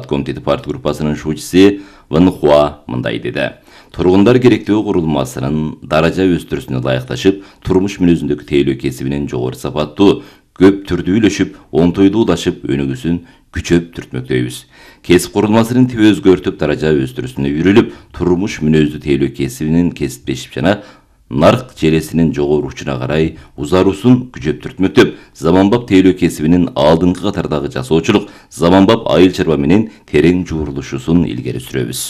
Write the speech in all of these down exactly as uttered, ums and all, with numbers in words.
Комитети партия группасынын шуучусу Ван Хуа мындай деди. Тургундар керектөө курулмасынын даража өстүрүүсүнө ылайыкташып, турмуш мүнөзүндөгү тейлөө кесибинин жогору сапаттуу, көп түрдүүлөшүп, онтойдуулашып, өнүгүүсүн күчөп түртмөктөйбүз. Кесип курулмасынын тиби өзгөртүп, даража өстүрүүсүнө үйрүлүп, турмуш мүнөздүү тейлөө кесибинин кесиптешип жана нарк желесинин жогорушуна карай узаруусун күчөп түртмөктөп, заманбап тейлөө кесибинин алдыңкы катардагы жасоочулук, заманбап айыл чарба менен терең жуурулушусун илгери сүрөбүз.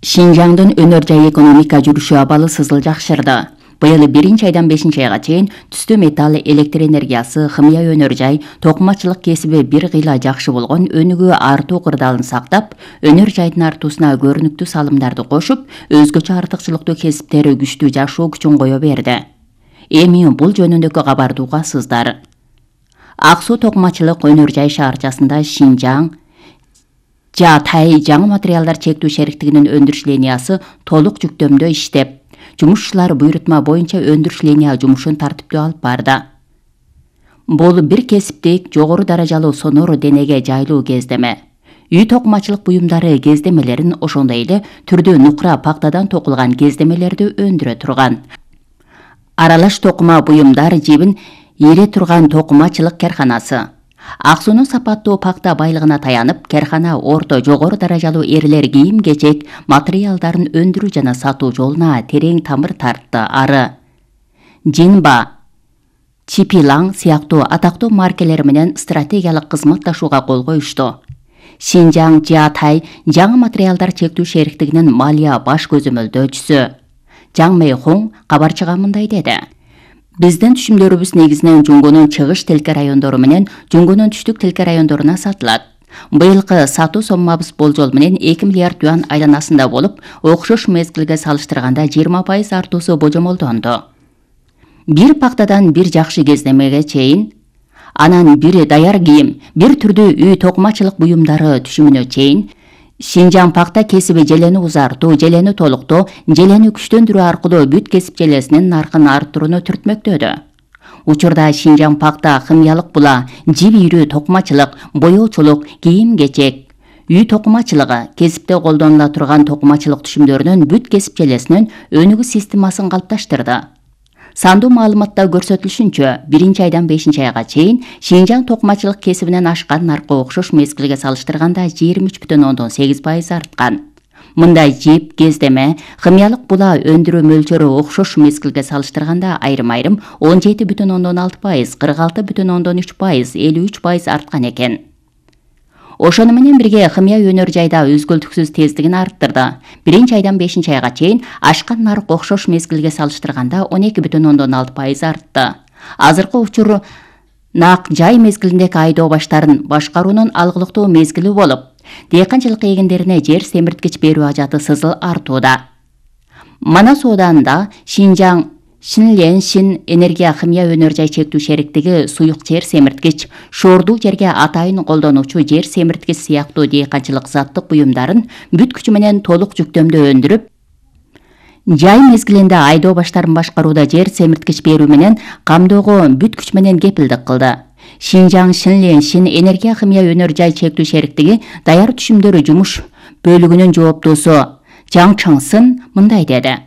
Шинжаңдын өнөр жай экономика жүрүшү абалы сызыл жакшырды. Быйыл биринчи айдан бешинчи айга чейин түстүү металл, электр энергиясы, химия өнөр жай, токумачылык кесиби бир кыйла жакшы болгон өнүгүү артуу кырдаалын сактап, өнөр жайдын артуусуна көрүнүктүү салымдарды кошуп, өзгөчө артыкчылыктуу кесиптери күчтүү жашоо күчүн кое берди. Эми бул жөнүндөгү кабарды угасыздар. Ак суу токумачылык өнөр жай шаарчасында Шинжаң Жаатай жаңы материалдар чектүү шериктигинин өндүрүш линиясы толук жүктөмдө иштеп, жумушчулар буйрутма боюнча өндүрүш линия жумушун тартиптүү алып барды. Бул бир кесиптик жогору даражалуу сонор денеге жайлуу кездеме. Үй токумачылык буюмдары кездемелерин, ошондой эле түрдүү нукра пактадан токулган кездемелерди өндүрө турган. Аралаш токума буюмдар жибин ире турган токумачылык карканасы. Ак суунун сапаттуу пакта байлыгына таянып, каркана орто жогору даражалуу эрлер кийим-кечек материалдарын өндүрүү жана сатуу жолуна терең тамыр тартты. Ары Жинба, Чипилаң сыяктуу атактуу маркелер менен стратегиялык кызматташууга кол коюшту. Шинжаң Жаатай жаңы материалдар чектүү шериктигинин малия баш көзөмөлдөөчүсү Жаң Мэйхоң кабарчыга мындай деди. Биздин түшүмдөрүбүз негизинен Жунгунун чыгыш тилке райондору менен Жунгунун түштүк тилке райондоруна сатылат. Быйылкы сатуу соммабыз болжол менен эки миллиард юан айланасында болуп, окшош мезгилге салыштырганда жыйырма пайыз артуусу божомолдонду. Бир пактадан бир жакшы кездемеге чейин, анан бир даяр кийим, бир түрдүү үй токумачылык буюмдары түшүмүнө чейин Шинжаң пакта кесиби желени узартуу, желени толуктоо, желени күчтөндүрүү аркылуу бүт кесип желесинин наркын арттырууну түртмөктөдү. Учурда Шинжаң пакта химиялык була, жип ийрүү токумачылык, боёочулук, кийим-кечек, үй токумачылыгы, кесипте колдонула турган токумачылык түшүмдөрүнүн бүт кесип желесинин өнүгүү системасын калыпташтырды. Сандуу маалыматта көрсөтүлүшүнчө, биринчи айдан бешинчи айга чейин Шинжаң токумачылык кесибинен ашкан наркы окшош мезгилге салыштырганда жыйырма үч бүтүн ондон сегиз пайыз арткан. Мындай жип, кездеме, химиялык була өндүрүү мөлчөрү окшош мезгилге салыштырганда айрым-айрым он жети бүтүн ондон алты пайыз, кырк алты бүтүн ондон үч пайыз, элүү үч пайыз арткан экен. Ошону менен бирге химия өнөр жайда өзгөлтүксүз тездигин арттырды. Биринчи айдан бешинчи айга чейин ашкан нарк окшош мезгилге салыштырганда он эки бүтүн ондон алты пайыз артты. Азыркы учур нак жай мезгилиндеги айдоо баштарын башкаруунун алгылыктуу мезгили болуп, дыйканчылык эгиндерине жер семирткич берүү ажаты сызыл артууда. Манас ооданында Шинжаң Шинленшин энергия химия өнөр жай чектүү шериктиги суюк жер семирткич, шоордуу жерге атайын колдонуучу жер семирткич сыяктуу дыйканчылык заттык буюмдарын бүт күчү менен толук жүктөмдө өндүрүп, жай мезгилинде айдоо баштарын башкарууда жер семирткич берүү менен камдоого бүт күч менен кепилдик кылды. Шинжаң Шинленшин энергия химия өнөр жай чектүү шериктиги даяр түшүмдөрү жумуш бөлүгүнүн жооптуусу Жаң Чаңсын мындай деди.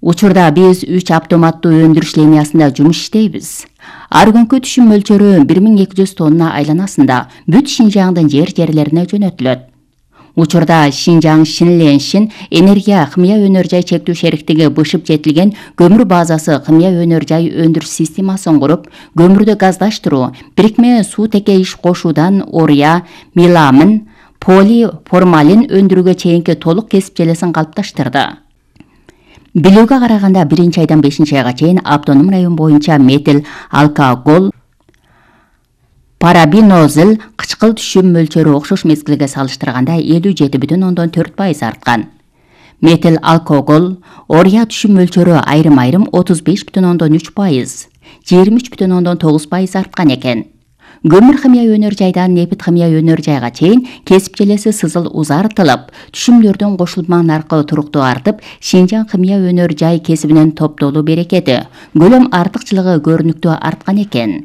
Учурда биз үч автоматтуу өндүрүш линиясында жумуш иштейбиз. Ар күнкү түшүм мөлчөрү бир миң эки жүз тонна айланасында бүт Шинжаңдын жер жерлерине жөнөтүлөт. Учурда Шинжаң Шинленшин энергия химия өнөр жай чектүү шериктиги бышып жетилген көмүр базасы химия өнөр жай өндүрүш системасын куруп, көмүрдү газдаштыруу, бирикме суутеке иш кошуудан ория, меламин, полиформалин өндүрүүгө чейинки толук кесип желесин калыпташтырды. Билүүгө караганда биринчи айдан бешинчи айга чейин автоном район боюнча метил, алкоголь, парабинозил кычкыл түшүм мөлчөрү окшош мезгилге салыштырганда элүү жети бүтүн ондон төрт пайыз арткан. Метил, алкоголь, ория түшүм мөлчөрү айрым-айрым отуз беш бүтүн ондон үч пайыз, жыйырма үч бүтүн ондон тогуз пайыз арткан экен. Көмүр химия өнөр жайдан нефт химия өнөр жайга чейин кесип желеси сызыл узартылып, түшүмдөрдүн кошулма наркы туруктуу артып, Шинжаң химия өнөр жай кесибинин топтолуу берекети, көлөм артыкчылыгы көрүнүктүү арткан экен.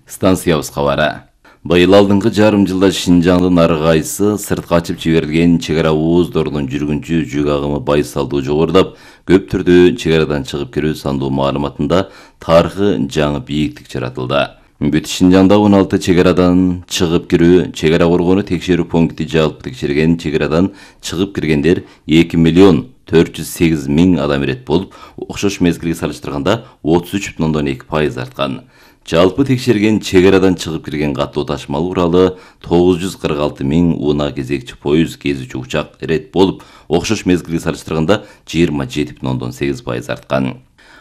Станциябыз кабары. Быйыл алдыңкы жарым жылда Шинжаңдын ар кайсы сыртка ачып жиберилген чек ара ооздорунун жүргүнчү жүк агымы байсалдуу жогорулап, көп түрдө чек арадан чыгып кирүү сандуу маалыматында тарыхы жаңы бийиктик жаратылды. Бүт Шинжаңда он алты чек арадан чыгып кирүү, чек ара коргону текшерүү пункти жалпы текшерген чек арадан чыгып киргендер эки миллион төрт жүз сегиз миң адам ирет болуп, окшош мезгилге салыштырганда отуз үч бүтүн ондон эки пайыз арткан. Жалпы текшерген чек арадан чыгып кирген каттуу ташымал уралы тогуз жүз кырк алты миң унаа кезекчи поезд, кезүүчү учак ирет болуп, окшош мезгилге салыштырганда жыйырма жети бүтүн ондон сегиз пайыз арткан.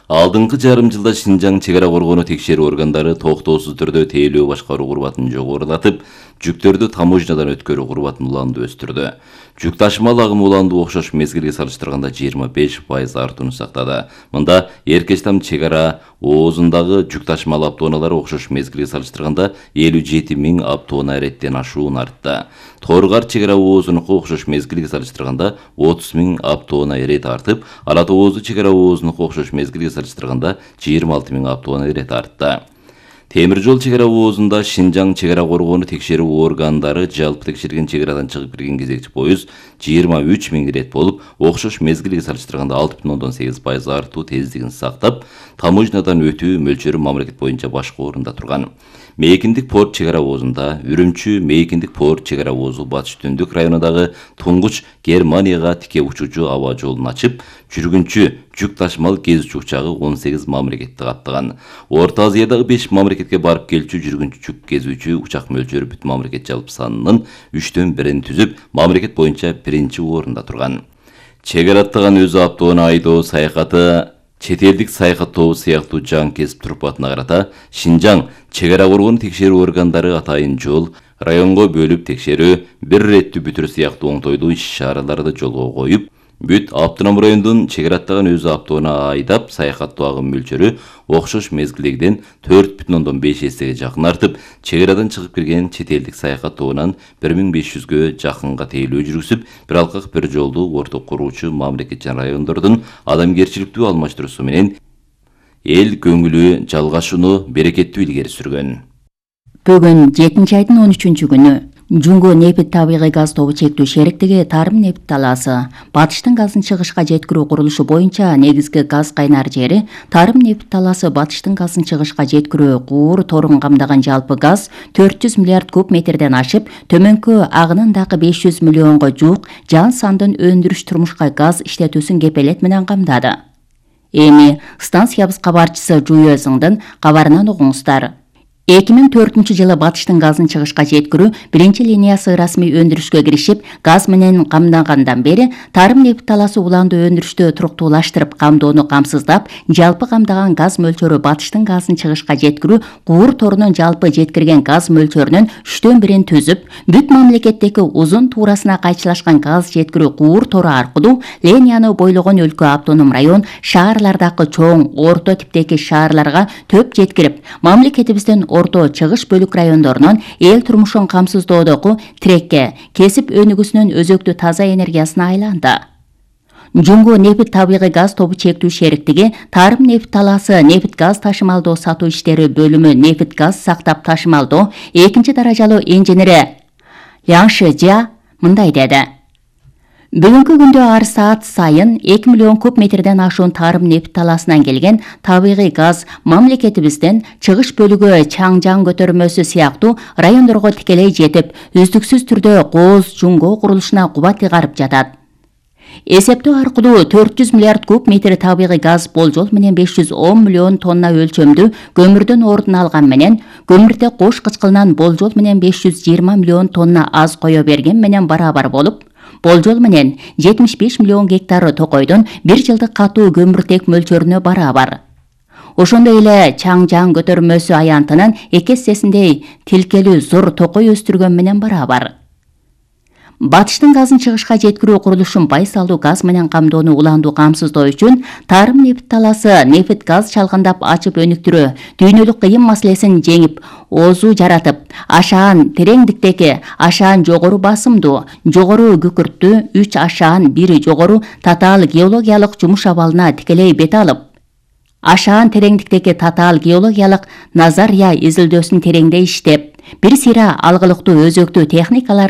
Алдыңкы жарым жылда Шинжаң чек ара коргону текшерүү органдары токтоосуз түрдө тейлөө башкаруу курбатын жогорулатып, жүктөрдү таможнядан өткөрүү курбатын уланды өстүрдү. Жүк ташымал агымы уланды окшош мезгилге салыштырганда жыйырма беш пайыз артууну сактады. Мында Эркечтам чек ара оозундагы жүк ташымал автоунаалары окшош мезгилге салыштырганда элүү жети миң автоунаа иреттен ашуун артты. Торгар чек ара оозунуку окшош мезгилге салыштырганда отуз миң автоунаа ирет артып, Ала Тоозу чек ара оозунуку окшош мезгилге салыштырганда жыйырма алты миң автоунаа ирет артты. Темир жол чек ара оозунда Шинжаң чек ара коргону текшерүү органдары жалпы текшерген чек арадан чыгып кирген кезекчи поезд жыйырма үч миң ирет болуп, окшош мезгилге салыштырганда алты бүтүн ондон сегиз пайыз артуу тездигин сактап, таможнядан өтүү мөлчөрү мамлекет боюнча башкы орунда турган. Мейкиндик порт чек ара оозунда Үрүмчү Мейкиндик порт чек ара оозу батыш түндүк районундагы туңгуч Германияга тике учуучу аба жолун ачып, жүргүнчү жүк ташымал кезүүчү учагы он сегиз мамлекетти каттаган. Орто Азиядагы беш мамлекетке барып келчү жүргүнчү жүк кезүүчү учак мөлчөрү бүт мамлекет жалпы санынын үчтөн бирин түзүп, мамлекет боюнча биринчи орунда турган. Чек ара аттаган өзү автоунаа айдоо саякаты чет элдик саякаттоо сыяктуу жаңы кесип турпатына карата Шинжаң чек ара коргону текшерүү органдары атайын жол, районго бөлүп текшерүү, бир реттүү бүтүр сыяктуу оңтойлуу иш-чараларды жолго коюп, бүт автоном райондун чек ара аттаган өзү автоунаа айдап саякаттоо агым мөлчөрү окшош мезгилдегиден төрт бүтүн ондон беш эсеге жакын артып, чек арадан чыгып кирген чет элдик саякаттоонан бир миң беш жүзгө жакынга тейлөө жүргүзүп, бир алкак бир жолду орток куруучу мамлекет жана райондордун адамгерчиликтүү алмаштыруусу менен эл көңүлү жалгашууну берекеттүү илгери сүргөн. Бүгүн жетинчи айдын он үчүнчү күнү Жунго нефт табигый газ тобу чектүү шериктиги Тарым нефт талаасы батыштын газын чыгышка жеткирүү курулушу боюнча негизги газ кайнар жери Тарым нефт талаасы батыштын газын чыгышка жеткирүү куур торун камдаган жалпы газ төрт жүз миллиард куб метрден ашып, төмөнкү агынын дагы беш жүз миллионго жуук жан сандын өндүрүш турмушка газ иштетүүсүн кепелет менен камдады. Эми станциябыз кабарчысы Жуёзуңдун кабарынан угуңуздар. эки миң төртүнчү жылы батыштын газын чыгышка жеткирүү биринчи линиясы расмий өндүрүшкө киришип, газ менен камдангандан бери Тарым нефт талаасы уланды өндүрүштү туруктуулаштырып, камдоону камсыздап, жалпы камдаган газ мөлчөрү батыштын газын чыгышка жеткирүү куур торунун жалпы жеткирген газ мөлчөрүнүн үчтөн бирин түзүп, бүт мамлекеттеги узун туурасына кайчылашкан газ жеткирүү куур тору аркылуу линияны бойлогон өлкө автоном район шаарлардагы чоң, орто типтеги шаарларга төп жеткирип, мамлекетибиздин орто чыгыш бөлүк райондорунун эл турмушун камсыздоодогу тирекке, кесип өнүгүүсүнүн өзөктүү таза энергиясына айланды. Жунго нефт табигый газ тобу чектүү шериктиги Тарым нефт талаасы нефт газ ташымалдоо сатуу иштери бөлүмү нефт газ сактап ташымалдоо экинчи даражалуу инженери Ляң Шижа мындай деди. Бүгүнкү күндө ар саат сайын эки миллион куб метрден ашуун Тарым нефт талаасынан келген табигый газ мамлекетибиздин чыгыш бөлүгү Чаңжаң көтөрмөсү сыяктуу райондорго тикелей жетип, үздүксүз түрдө Кооз Жунго курулушуна кубат ыгарып жатат. Эсептөө аркылуу төрт жүз миллиард куб метр табигый газ болжол менен беш жүз он миллион тонна өлчөмдүү көмүрдөн ордун алган менен, көмүрдө кош кычкылынан болжол менен беш жүз жыйырма миллион тонна аз кое берген менен барабар болуп, болжол менен жетимиш беш миллион гектар токойдон бир жылдык катуу көмүртек мөлчөрүнө барабар. Ошондой эле Чаңжаң көтөрмөсү аянтынын эки эссесиндей тилкелүү зор токой өстүргөн менен барабар. Батыштын газын чыгышка жеткирүү курулушун байсалдуу газ менен камдоону уландуу камсыздоо үчүн Тарым нефт талаасы нефт газ чалгандап ачып өнүктүрүү дүйнөлүк кыйын маселесин жеңип, оозу жаратып, ашаан тереңдиктеги, ашаан жогору басымдуу, жогору күкүрттүү, үч ашаан бир жогору татаал геологиялык жумуш абалына тикелей бет алып, ашаан тереңдиктеги татаал геологиялык назария изилдөөсүн тереңдей иштеп, Бир сыйра алгылыктуу өзөктүү техникаларды